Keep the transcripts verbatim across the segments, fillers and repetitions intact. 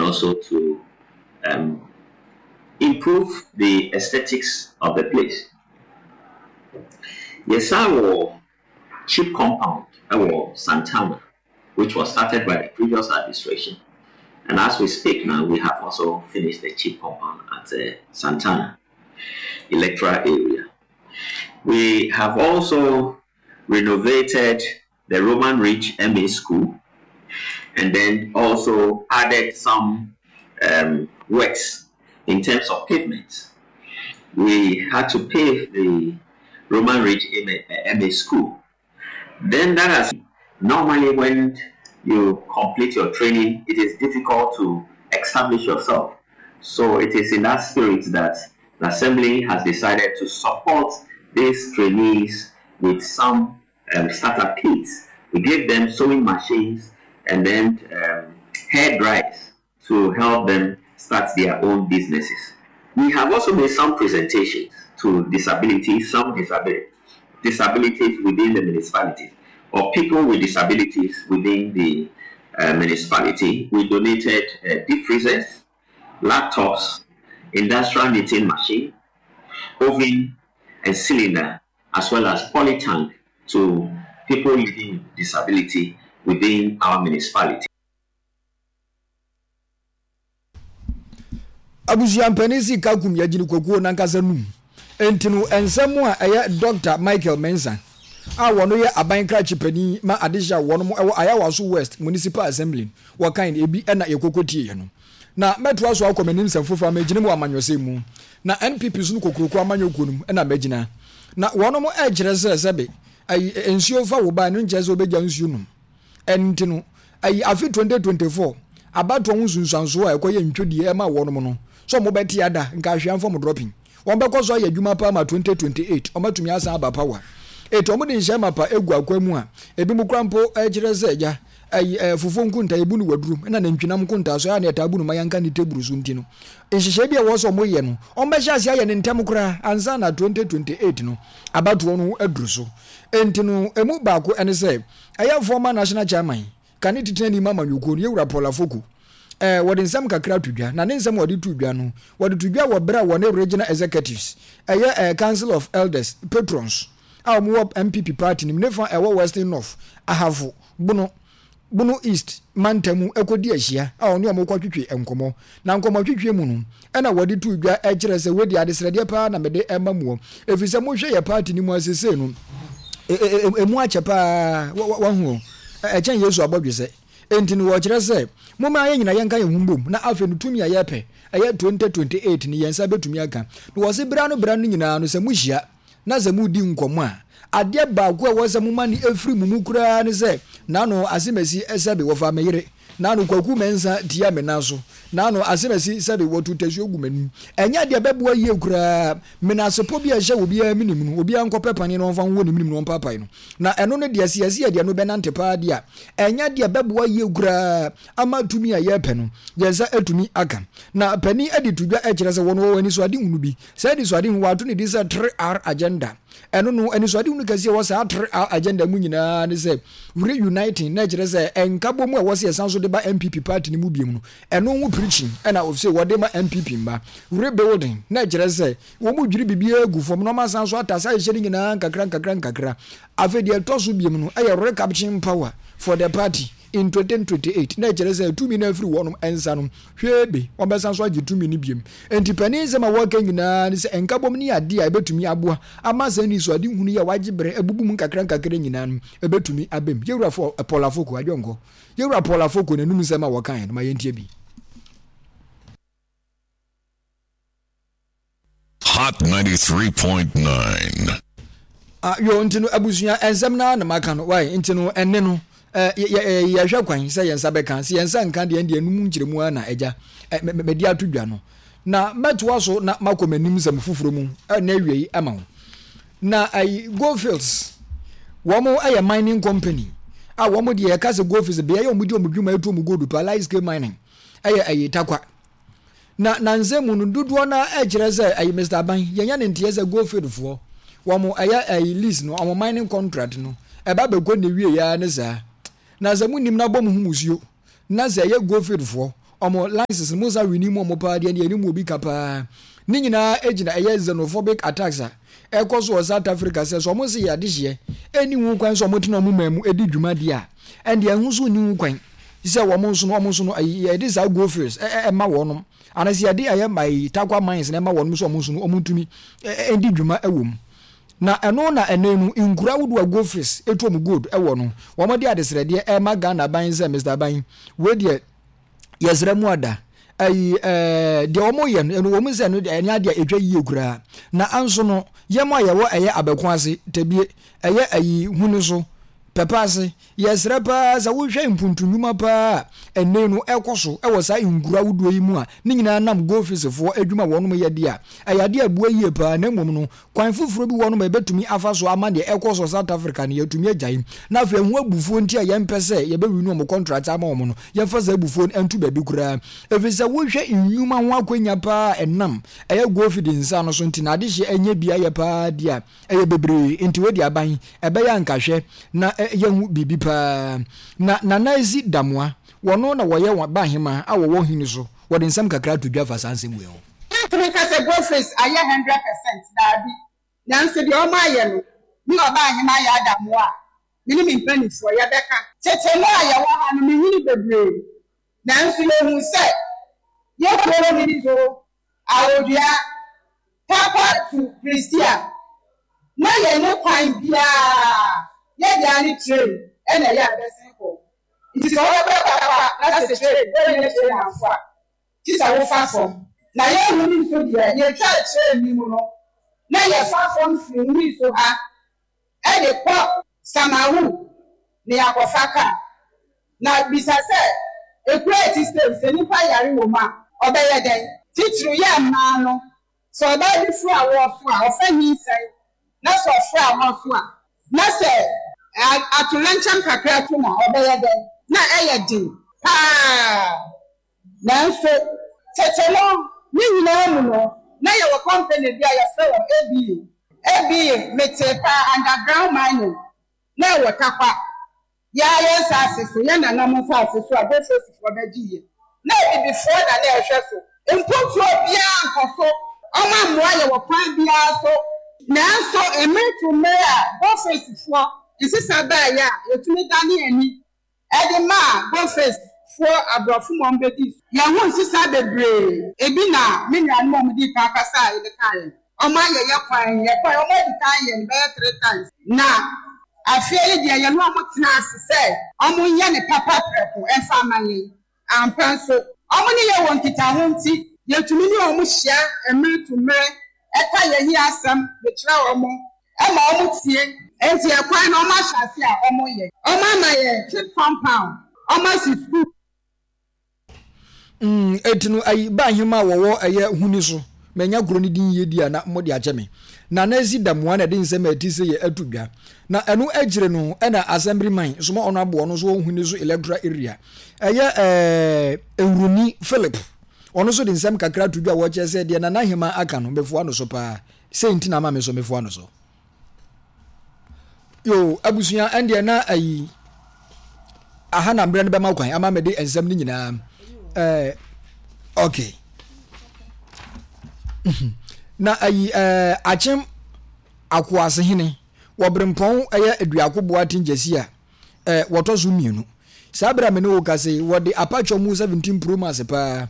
also to um, improve the aesthetics of the place. Yɛsan wɔ CHPS compound ɛwɔ Santana, which was started by the previous administration. And as we speak now, we have also finished the CHPS compound at uh, Santana electoral area. We have also renovated the Roman Ridge M A School and then also added some um, works in terms of pavements. We had to pave the Roman Ridge M A, M A School. Then that has normally, when you complete your training, it is difficult to establish yourself. So it is in that spirit that the assembly has decided to support these trainees with some um, startup kits. We gave them sewing machines and then um, hair dryers to help them start their own businesses. We have also made some presentations to disabilities, some disability, disabilities within the municipality or people with disabilities within the uh, municipality. We donated uh, deep freezers, laptops, industrial knitting machine, oven and cylinder, as well as polytank to people living with disability within our municipality. Abusuampanin si kakum yɛgyina kwakuo nankasa num. Nti no nsɛm a ɛyɛ Doctor Michael Mensah a wɔno yɛ aban krakye panin ma adehyɛ a wɔnom ɛwɔ Ayawaso West Municipal Assembly wɔkan ebi ɛna yɛkɔkɔ tie no. Na mɛtoa so akɔ m'anim nsɛm foforɔ a magyina mu wɔ amanyɔsɛm mu na N P P so no kokuroko amanyɔkuo no mu ɛna magyina na wɔnom ɛkyerɛ sɛ sɛbe ayi nsuo fa wo ba no nkyerɛ sɛ wobɛgya nsuo nom. Ɛno nti no ayi afe twenty twenty-four abatoɔ ho nsunsuansoɔ a ɛkɔyɛ ntwodie ɛma wɔnom no sɛ ɔmo bɛte ada nka ahwea mfam dropping wɔn bɛkɔ so ayɛ adwuma paa ma twenty twenty-eight ɔmatumi asan aba power. Etu ɔmo de nhyɛn mapa egu akwa mu a ebi mu kora mpo ɛkyerɛ sɛ ɛgya ɛyi ɛɛ fufuo nkunta ebu no waduro ɛna nantwinam nkunta so ɛna ɛtaa bu no ma yanka ne teburu so. Nti no nhyehyɛ bi a ɛwɔ sɛ ɔmo yɛ no, ɔmo bɛhyɛ ase ayɛ ne ntɛm koraa ansa na twenty twenty-eight no abatoɔ no aduru so. Nti no emu baako ɛne sɛ ɛyɛ former national chairman kane titena nim amanyɔkuo no, yɛwura Paul Afoko, ɛɛ wɔde nsɛm kakra to dwa. Na ne nsɛm wɔde to dwa no, wɔde to dwa wɔ berɛ a wɔne regional executives, ɛyɛ ɛɛ Council of Elders patrons a wɔn wɔ N P P party nim ne fa ɛwɔ Western North, Ahafo, Bono, Bono East mantam ɛkɔdi ahyia a ɔne ɔmo kɔtwitwi nkɔmɔ. Na nkɔmɔ twitwi mu no ɛna wɔde to dwa ɛkyerɛ sɛ wɔdi adesrɛdeɛ paa na mede ɛma muɔ, ɛfiri sɛ mohwɛ yɛ party no mu asese no, emu akyɛ paa wahu ɛkyɛn Yesu abɔdwesɛ. Enti no wɔkyerɛ sɛ momma yɛn nyina yɛnka yɛn ho mbom na afei no tumi a yɛpɛ ɛyɛ twenty twenty-eight ni yɛn nsa bɛtumi aka. Na wɔse bra no bra no nyinaa no, sɛ mohyia na sɛ modi nkɔmmɔ a, adeɛ baako a ɛwɔ sɛ moma ne ɛfiri mu mu koraa ne sɛ n'ano asemasi sɛbe wɔfa me yere, n'ano Kwaku Mɛnsa tia me nan so, n'ano asemasi sɛbe wɔto tasuo gu m'anim, ɛnyɛ deɛ bɛboa yie koraa. Menasepɔ bi a ɛhyɛ obiara minim no, obiara nkɔpɛ paneɛ na ɔmfa nwɔ ne minim na ɔmpaapae no. Na ɛno no deɛ sɛ yɛsi yɛ deɛ no bɛnante paa deɛ a, ɛnyɛ deɛ bɛboa yie koraa ama tumi a yɛrepɛ no yɛn nsa atumi aka. Na panin adi to dwa kyerɛ sɛ wɔn wɔ anisoadehunu bi. Saa anisoadehunu wɔato ne din sɛ three R agenda. Ɛno no anisoadehunu kɛseɛ wɔ saa three R agenda mu nyinaa ne sɛ reuniting, na kyerɛ sɛ ɛnka mu a ɛwɔ sɛ yɛsan so de ba N P P party no mu biom no, ɛno ho preaching ɛna ɔsɛ wɔde ma N P P mba. Rebuilding, na kyerɛ sɛ wɔn mu dwiri biribiara gu fam na wɔn asan so atase ahyehyɛ no nyinaa nkakra nkakra nkakra. Afei deɛ ɛtɔ so biom no ɛyɛ recapturing power for the party in twenty twenty-eight, na kyerɛ sɛ tumi no afiri wɔnom nsa no hwee be wɔbɛsan so agye tumi no biom. Nti panin nsɛm a wɔka nyinaa ne sɛ nkabom ne adeɛ a ɛbɛtumi aboa ama sɛ ni so ade hunu yi a wagye berɛ abubu mu nkakra nkakra nyinaa no ɛbɛtumi abɛm. Yɛwura Paul Afoko adwonkɔ, yɛwura Paul Afoko n'anum nsɛm a wɔkae no, ma yɛntie bi. Hot ninety-three point nine. Ah, yo, nti no abusua nsɛm naa na maka no wae. Nti no ɛne no yɛhwɛ kwan sɛ yɛn nsa bɛka. Sɛ yɛn nsa nka deɛ, deɛ num nkyerɛmu ara na agya mɛde ato dwa no. Na mɛtoa so na makɔ m'anim nsɛm foforɔ mu na awie yi ama wo. Na ayi Goldfields, wɔn yɛ mining company a wɔn deɛ yɛka sɛ Goldfields beaeɛ a wɔn di wɔn dwuma etu wɔn gold pa, large scale mining, ɛyɛ ɛyɛ Takwa. Na nansɛm mu no dodoɔ no ɛkyerɛ sɛ ɛyɛ Mister Aban yɛnyɛ ne nteɛ sɛ Goldfield foɔ wɔn ɛyɛ ɛyɛ lease no, wɔn mining contract no ɛba bɛkɔ ne wie ya ne saa. Na sɛ mo nim na bɔ mo ho musuo na sɛ ɛyɛ Goldfield foɔ Ɔmo license no mo nsa renew mu ɔmo paa deɛ deɛ ɛne mu obi ka paa. Ne nyinaa gyina ɛyɛ xenophobic attacks a ɛkɔ so wɔ South Africa sɛ sɛ ɔmo se yɛ adehyeɛ ɛnni ho kwan sɛ ɔmo tena ɔmo man mu ɛdi dwuma deɛ a, ɛndeɛ ɛho nso nni ho kwan sɛ wɔn nso no wɔn nso no yɛde saa gold fields ɛma wɔnom anaasɛ yɛde ɛyɛ ayi Tarkwa mines na ɛma wɔnom sɛ wɔn nso no wɔn ntumi ɛdi dwuma ɛwɔ mu. Na ɛno na ɛnɛ no nkura ahodoɔ a gold fields ɛtu wɔn gold ɛwɔ no wɔn de adesrɛdeɛ ɛma Ghana aban sɛ Mister Aban wei deɛ yɛsrɛ mu ada ayi ɛɛ deɛ wɔn yɛ no ɛno wɔn sɛ no ɛnyɛ adeɛ a ɛtwa yie koraa na anso no yɛn a yɛwɔ ɛyɛ abɛko ase tɛbie ɛyɛ ayi huni so pɛpɛ ase yɛsrɛ paa sɛ wohwɛ mpuntu nnwuma paa a ɛnɛ no ɛkɔ so ɛwɔ saa nkura ahodoɔ yi mu a ne nyinaa nam goldfishfoɔ adwuma a wɔnom yɛ deɛ a ɛyɛ adeɛ a ɛboa yie paa na mmom no kwan foforɔ bi wɔnom a yɛbɛtumi afa so ama deɛ ɛkɔ so South Africa no yɛatumi agyae na afei ɛho abufuo nti a yɛmpɛ sɛ yɛbɛwi no wɔn contract ama wɔn no yɛmfa saa abufuo no nto baabi koraa ɛfiri sɛ wohwɛ nnwuma ho akwanya paa a ɛnam ɛyɛ goldfield nsa no so nti na adehyeɛ ɛnyɛ bi ayɛ paa deɛ a ɛyɛ bebree nti wodi aban ɛbɛyɛ ankahwɛ na yɛhu biribi paa na Nana Esi Damoa wɔno na wɔyɛ wɔn bahema a wɔwɔ hene so wɔde nsɛm kakra to dwa fa saa nsɛm wei ho. Yɛntumi nka sɛ Goldfields ayɛ hundred percent, daabi. Nanso deɛ wɔayɛ no, me ɔbaahema ayɛ adamoa a, me ne me mpanimfoɔ yɛbɛka. Tete no a yɛwɔ ha no, menyini bebree, nanso yɛhuu sɛ yɛn kuro no ni so, Awodua, Tarkwa to Prestea, na yɛnni kwan biara, yɛn deɛ ara ne train na ɛyɛ a ɛbɛsen kɔ. Nti sɛ wobɛkɔ Tarkwa na sɛ train, woannya train amfo a, gye sɛ wofa fam. Na yɛn Huni nso deɛ, yɛtwaa train no mu no, na yɛfa fam firi Huni so ha de kɔ Samawu na yɛakɔfa kaa. Na bisa sɛ, Ekuro a ɛte sei, sɛ nnipa yare wɔ mu a, ɔbɛyɛ dɛn? Titiriw yɛn mmaa no, sɛ ɔbaa bi foro awoɔ so a, ɔfa nyinsɛn, na sɛ ɔforo awoɔ so a, na sɛ atoyerɛnkyɛm kakra to no a, ɔbɛyɛ dɛn? Na ɛyɛ den paa. Nanso, tete no, ne nyinaa mu no, na yɛwɔ kɔmpene bi a yɛfrɛ wɔn A B A. A B A, metee paa, Underground Mining, na ɛwɔ Tarkwa. Yɛa yɛn nsaase so, yɛn nananom nsaase so a Goldfieldsfoɔ bɛgyeeɛ. Na Abibifoɔ na na ɛhwɛ so. Mpuntuo biara nkɔ so. Wɔammoa yɛn wɔ kwan biara so. Nanso, mmere to mmere a Goldfieldsfoɔ nsesa baeɛ a, yɛtumi danee ani de maa Goldfields foɔ aborɔfo ma wɔbɛdii so. Yɛn ho nsesa bebree. Ebi na me nuanom a wɔdii kan kasaeɛ no kaeɛ no. Wɔayɛ yɛn kwan, yɛn kwan, wɔadi kan ayɛ no bɛyɛ three times. Na afei yi deɛ yɛne wɔn tenaa ase sɛ wɔnyɛ no papa prɛko mfa mma yɛn. Ampa nso, wɔne yɛn wɔ nkitaho nti, yɛtumi ne wɔn hyia mmere to mmere ka yɛn ahiasɛm de kyerɛ wɔn ma wɔtie. Enti ɛkwan no wɔahyɛ ase a wɔyɛ. Wɔama yɛn chip compound, wɔasi sukuu. Mm, eti no ayi ba ahema a wɔwɔ ɛyɛ huni so. Manya kuro no din yie di a na mode akyɛ me. Na na esi damoa na ɛde nsɛm a ɛte sei yɛ ato dwa. Na ɛno akyire no ɛna assemblyman soma ɔno aboɔ no nso wɔ huni so electoral area. Ɛyɛ ɛɛ Ewuruni Philip. Ɔno nso de nsɛm kakra to dwa a wɔkyerɛ sɛ deɛ Nana Hema aka no mefoa no so paa. Sei nti na ama me nso mefoa no so. Yo, abusua, ɛndeɛ na ayi aha na mmerɛ no bɛma kwan ama mede nsɛm no nyinaa ɛɛ okay na ayi ɛɛ akyem akoasehene wɔ berempɔn ɛyɛ aduako boaten gyasi a ɛɛ wɔtɔ so mmienu saa berɛ a me ne wo kasa yi wɔde apatwɔ mu seventeen pro max paa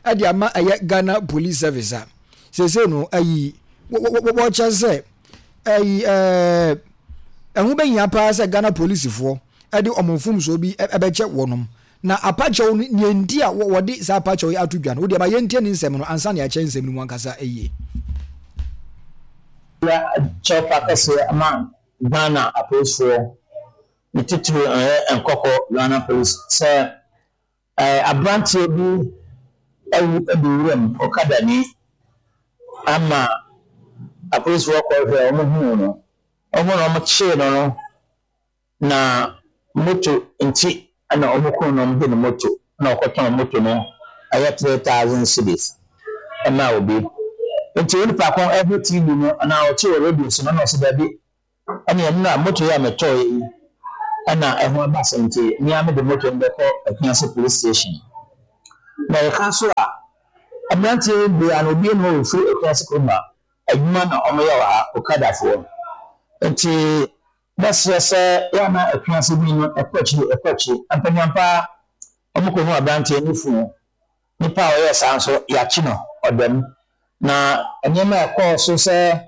ɛde ama ɛyɛ Ghana Police Service a seesei no ayi wɔkyɛ sɛ ɛyi ɛɛ ɛho bɛhia paa sɛ Ghana polisifoɔ ɛde wɔn mfomsoɔ bi ɛbɛkyɛ wɔnom na apakyɛw no nea nti a wɔde saa apakyɛw yi ato dwa no wodeɛ ma yɛntie ne nsɛm no ansa na yɛakyɛ nsɛm no mu ankasa yie. Kyɛw pa kɛseɛ ama Ghana apolisifoɔ, ne titiriw ɛyɛ Nkɔkɔ Ghana Police sɛ ɛɛ aberanteɛ bi awu adi wuram ɔkadani ama apolisifoɔ kɔhwɛ a wɔhuu no, wɔn na wɔkyee no no na moto nti ɛna wɔkum no, wɔde ne moto na ɔkɔtɔn moto no ɛyɛ three thousand cedis ɛma obi. Nti onipa ko ɛhwɛ T V no anaa ɔte wɔ radio so no na ɔsɛ daabi, ɛne ɛno na moto yi a metɔɔ yi ɛna ɛho aba asɛm nti mmea mede moto no bɛkɔ Akuase Police Station. Na yɛka nso a, mmeranteɛ bebree a na obi nni hɔ a wɔfiri Akuase kurom a adwuma na wɔyɛ wɔ ha, Okadafoɔ. Nti mɛsrɛ sɛ yɛ a na Akuase bi no ɛkɔ akyiri ɛkɔ akyiri. Ampanyampa wɔkɔhu aberanteɛ ne funu. Nipa a ɔyɛɛ saa nso yɛakye no ɔda mu. Na nneɛma a ɛkɔɔ so sɛ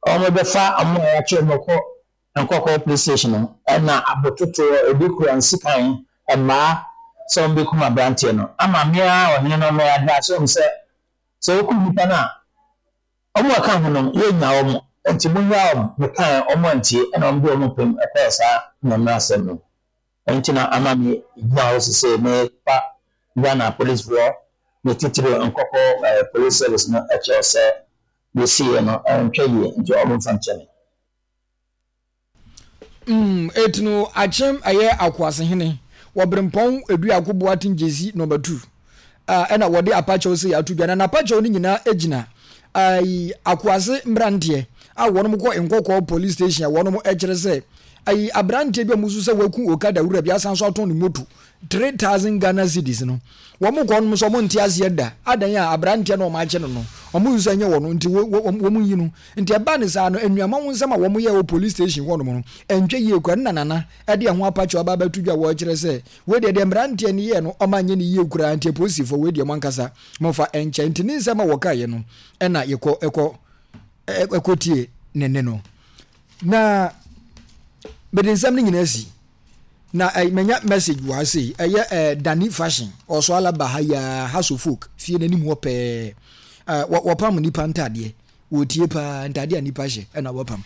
wɔbɛfa wɔn a yɛakye wɔn kɔ Nkɔkɔɔ police station no, ɛna abototoɔ, ebi kura nsikan, mmaa sɛ wɔbɛkum aberanteɛ no. Ama me ara ɔhene no me advice wɔn sɛ, sɛ wokum nipa no a, wɔn a ɛka ho no yɛnnya wɔn, nti monnyaa wɔn. Mekaeɛ wɔn antie, ɛna wɔde wɔn pem ɛkɔɔ saa mmara asɛm no. Ɛno na ama me gyina hɔ sesei mefa Ghana policefoɔ ne titiri Nkɔkɔɔ eh, police service no kyerɛ sɛ yɛsiiɛ no ɛntwa yie, nti wɔn mfa nkyɛ me. Mm, eti no akyem ɛyɛ Akoasehene wɔ Berempɔn Eduako Boateng Gyesi number two a ɛna wɔde apakyɛw sɛ ato dwa na n'apakyɛw no nyinaa gyina ayi Akoase mmeranteɛ a wɔn kɔ Nkɔkɔɔ police station a wɔn kyerɛ sɛ ayi aberanteɛ bi a wɔn nso sɛ waku okada wura bi asan so atɔn ne moto three thousand Ghana cedis no wɔn kɔ nom sɛ wɔn nte aseɛ da adan a aberanteɛ no wɔn akyɛ no no wɔn nso ɛnyɛ wɔn nti wɔn wɔn yi no nti ɛba ne saa no nnuama ho nsɛm a wɔn yɛ wɔ police station hɔ nom no ɛntwa yie kura ne nanana ɛde ɛho apakyɛw aba abɛto dwa wɔrekyerɛ sɛ wei deɛ deɛ mmeranteɛ no yɛ no ɔma nyɛ ne yie kura nti apolisifoɔ wei deɛ mo ankasa mo fa ɛnkyɛn nti ne nsɛm a wɔkaeɛ no ɛna yɛkɔ ɛkɔ ɛkɔ tie ne ne no na mede nsɛm no nyinaa si na ɛ manya message wɔ ha sei ɛyɛ ɛ Danny Fashion ɔso alaba ha yaa House of Folk fie n'anim hɔ pɛɛ ɛ wɔpam nipa ntaadeɛ wɔtie paa ntaadeɛ a nipa hyɛ ɛna wɔpam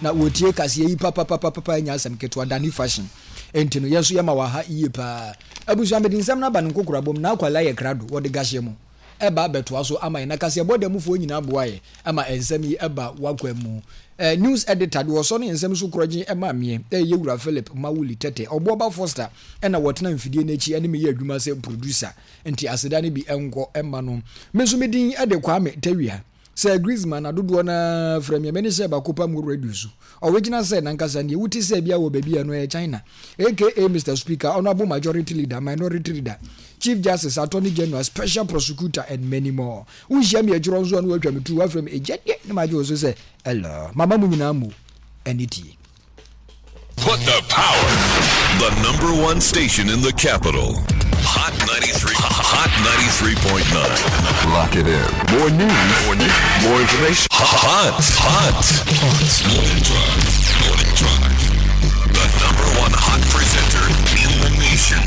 na wɔtie kaseɛ yi papapapapa nya asɛm ketewa Danny Fashion nti no yɛn nso yɛma wɔ ha yie paa abusua mede nsɛm no aba no nkokora bom na akwala yɛ krado wɔde gahyɛ mu ɛba abɛtoa so ama yɛn na kaseɛ bɔ dɛm mufoɔ nyinaa boa yɛ ama nsɛm yi ɛba wakwan mu eh, news editor de wɔsɔ ne nsɛm so korɔgye ɛma meɛ ɛyɛ wura Philip Mawuli Tɛtɛ ɔboɔba Foster ɛna wɔtena mfidie n'akyi ɛne meyɛ adwuma sɛ producer nti aseda no bi ɛnkɔ ɛma no me nso me din ɛde Kwame Tawia sɛ Griezmann adodoɔ na frɛ me mɛne sɛ baako pa mu radio so original sɛ nankasa neɛ wote sɛ bia wɔ baabi a no ɛyɛ China aka Mr Speaker honorable majority leader minority leader chief justice attorney general special prosecutor and many more wonhyia me akyirɔ nso a no watwa me tu wafrɛ me ɛgya deɛ ne magye wo so sɛ hello mama mu nyinaa mu ɛne tie Put the power. The number one station in the capital. Hot ninety-three. Hot ninety-three point nine. Lock it in. More news. More news. More information. Hot. Hot. Hot. Morning Drive. Morning Drive. The number one hot presenter in the nation.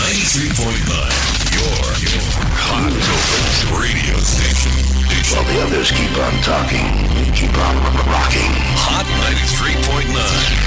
ninety-three point nine. Your, your hot radio station. While the others keep on talking, we keep on rocking.